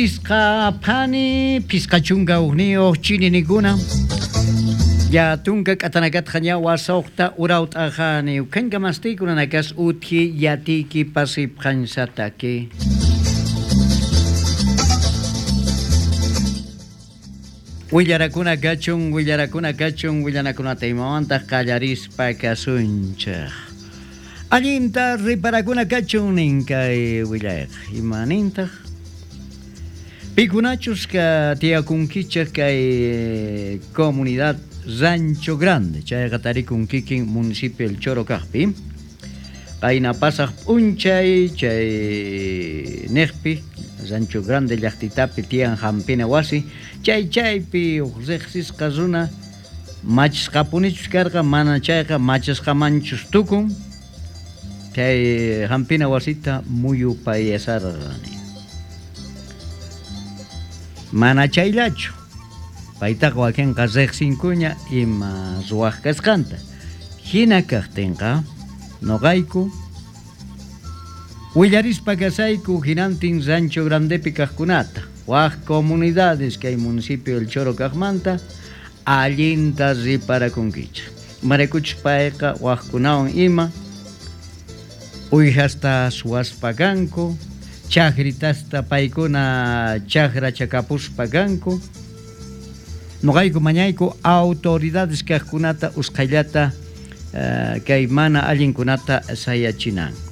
Pisqa phani, pisqa chunka ujniyoj chininikuna. Ya tunka k'atanakatqa ña wasojta urawt'ajani ukhanka mastiykunanakas uthi yatiki pasipqansataki. Willarakuna kachun, willarakuna kachun, willanakunata imawantaq qallarispa kasunchej. Allinta riparakuna kachun nin kay willayqa. Ima nintaq? Pikunachus ka tiyakunkichej kay comunidad Rancho Grande, chayqa tarikun kikin municipio El Choro kajpi. Qayna pasaj p'unchay chay nejpi Rancho Grande llajtitapi tiyan jampina wasi, chay chaypi uj rejsisqa runa machisqapunichus karqa, mana chayqa machisqamanchus tukun, chay jampina wasita muyupayasarqa. Mana chayllachu, paytaqa wakinqa rejsinkuña ima ruwaj kasqanta. Jina kajtinqa noqayku willarispa kasayku hinantin Rancho Grandepi kajkunata, waj comunidades kay municipio El Choro kajmanta allinta riparakunkichej. Imaraykuchus payqa wajkunawan ima uyjasta suwaspa kanku, chajritasta paykuna chajra chakapuspa kanku. Noqayku mañayku autoridades kajkunata usqhayllata kay mana allinkunata sayachinanku.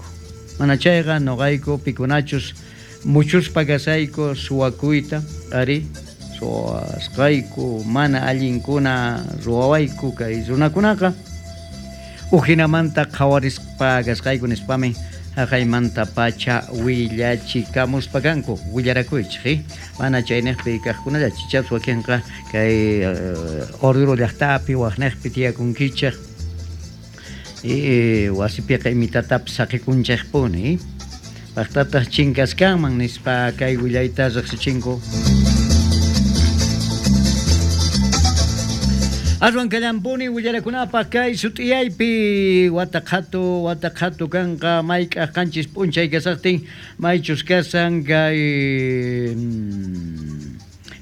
Mana chayqa noqayku pikunachus muchuspa kasayku suwakuyta, ari suwasqayku mana allinkuna ruwawayku kay runakunaqa ujinamanta qhawarispa kasqayku nispami jaqaymanta pacha willachikamuspa kanku. Willarakuychej, mana chaynejpi kajkunalla chichaps wakinqa kay Oruro llajtapi wajnejpi tiyakunkichej wasipiqa imitatapis saqikunchejpuni pajtataj chinkaskanman nispa kay willayta rejsichinku. Aswan kallampuni willarakunapaj kay sut'iyaypi wata qhatu kanqa mayk'aj qanchis p'unchay kasajtin maychus kasan kay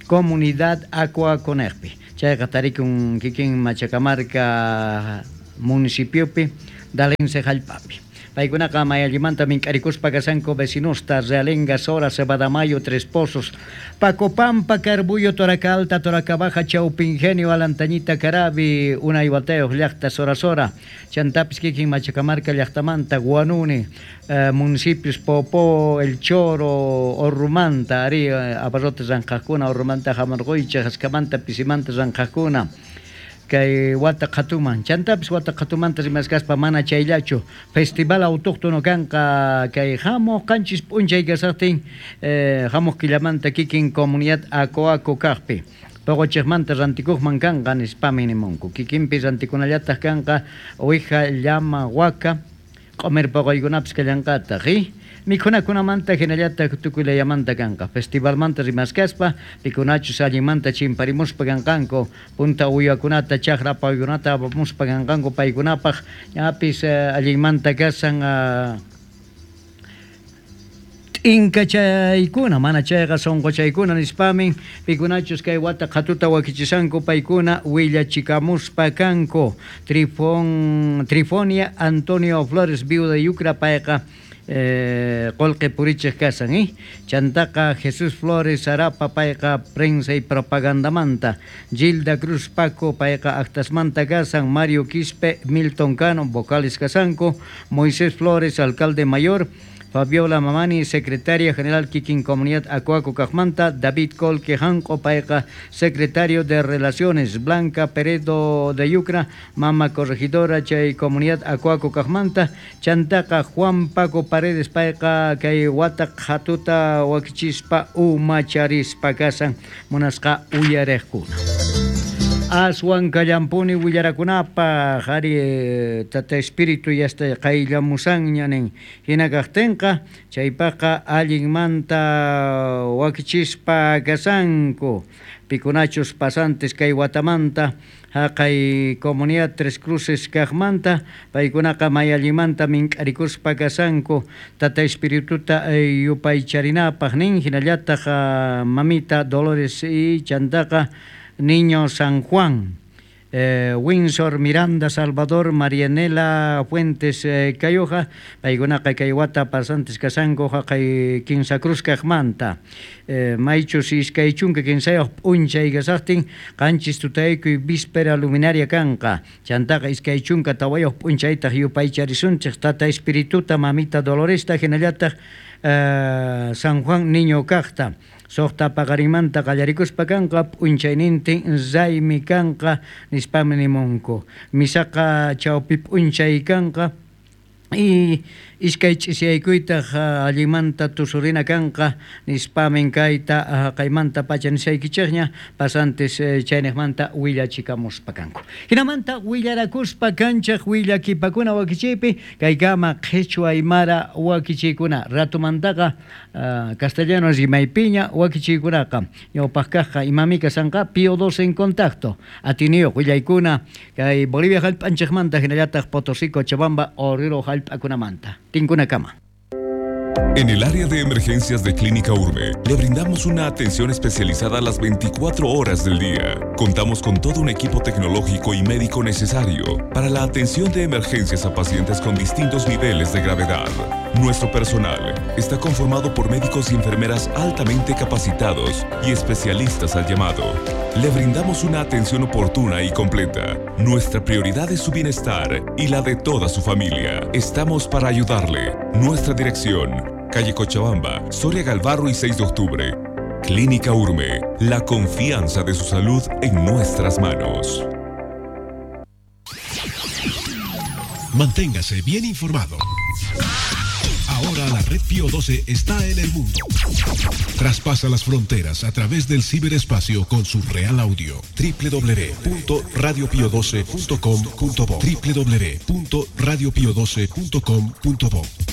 comunidad Acuaconejpi. Chayqa tarikun kikin Machacamarca municipiopi Dalense jallp'api. Paykunaqa mayallimanta mink'arikuspa kasanku vecinosta Realenga, Sora, Cebadamayo, Tres Pozos, Pacopampa, Carbuyo, Toraca Alta, Toraca Baja, Chaupingenio, Alantañita, Carabi, Unay Watayoj llajta, Sora Sora, Chantapis kikin Machacamarca llajtamanta, Guanuni, municipios Popó, El Choro, Orrumanta, ari abarrotes ranqajkuna, Orrumanta, Jamargoycha, Jascamanta, Pisimanta ranqajkuna. Kay wata qhatuman, chantapis wata qhatumanta rimaskaspa mana chayllachu festival autóctono kanqa kay jamuq qanchis p'unchay kasaqtin jamuq killamanta kikin comunidad Acoaco kajpi. Poqochejmanta rantikuqman kanqa nispami nimunku. Kikinpi rantikunallataj kanqa uwija, llama, waka, q'umir poqoykunapis kallanqataq, Mikhunakunamanta hinallataq tukuylayamanta kanqa. Festivalmanta rimaskaspa pikunachus allinmanta chimparimuspa kanqanku, punta uywakunata chajra paykunata apamuspa kanqanku paykunapaj ñapis allinmanta kasan t'inkachaykuna, mana chayqa sonqochaykuna nispamin pikunachus kay wata qhatuta wakichisanku paykuna willachikamuspa kanku. Trifonia Antonio Flores, viuda Yucra, payqa qolqe purichej kasan, Chantaqa Jesús Flores Arapa, payqa prensa y propagandamanta. Gilda Cruz Paco, payqa actasmanta kasan. Mario Quispe, Milton Cano, vocales kasanku. Moisés Flores, alcalde mayor. Fabiola Mamani, secretaria general kikin comunidad Acuaco Cajmanta. David Colque Janco, payqa secretario de Relaciones. Blanca Peredo de Yucra, mama corregidora chay comunidad Acuaco Cajmanta. Chantaqa Juan Paco Paredes, payqa kay wata qhatuta wakichispa umacharispa kasan munasqa uyarejkuna. Aswan kallampuni willarakunapaj ari Tata Espíritu yasta qayllamusanña nin. Hina kajtinqa chaypaqqa allinmanta wakichispa kasanku pikunachus pasantes kay watamanta haqay comunidad Tres Cruces kajmanta paykunaqa may allinmanta mink'arikuspa kasanku Tata Espirituta yupaycharinapaj nin hinallataq mamita Dolores y chantaqa Niño San Juan, Windsor, Miranda, Salvador, Marianela, Fuentes, Cayoja, paykunaqa kay wata pasantes kasanku haqay Kinsa Cruz kajmanta. Maychus 23 p'unchay kasaqtin qanchis tutaykuy víspera luminaria kanqa. Chantaqa 24 p'unchaytaq yupaycharisunchik Tata Espirituta, Mamita Doloresta, hinallataq San Juan Niño kajta. Suqta paqarinmanta qallarikuspa kanqa p'unchaynintin raymi kanqa nispami nimunku. Misaqa chawpi p'unchay kanqa y iskay ch'isiyaykuytaq allinmanta tusurina kanqa nispamin kayta haqaymanta pacha nisaykichikña pasantes chayniqmanta willachikamuspa kanku. Hinamanta willarakuspa kanchaq willakipakuna wakichiypi kaykama qhichwa aymara wakichiykuna ratumantaqa castellano rimaypiña wakichiykunaqa ñawpaq kaqqa imami kasanqa Pío 12 en contacto atiniyuq willaykuna kay Bolivia hallp'anchikmanta hinallataq Potosí, Cochabamba, Oruro hallp'akunamanta. Tinkunakama. En el área de emergencias de Clínica Urbe, le brindamos una atención especializada a las 24 horas del día. Contamos con todo un equipo tecnológico y médico necesario para la atención de emergencias a pacientes con distintos niveles de gravedad. Nuestro personal está conformado por médicos y enfermeras altamente capacitados y especialistas al llamado. Le brindamos una atención oportuna y completa. Nuestra prioridad es su bienestar y la de toda su familia. Estamos para ayudarle. Nuestra dirección: calle Cochabamba, Soria Galvarro y 6 de octubre. Clínica Urme, la confianza de su salud en nuestras manos. Manténgase bien informado. Ahora la red Pío 12 está en el mundo. Traspasa las fronteras a través del ciberespacio con su real audio. www.radiopio12.com.bo www.radiopio12.com.bo.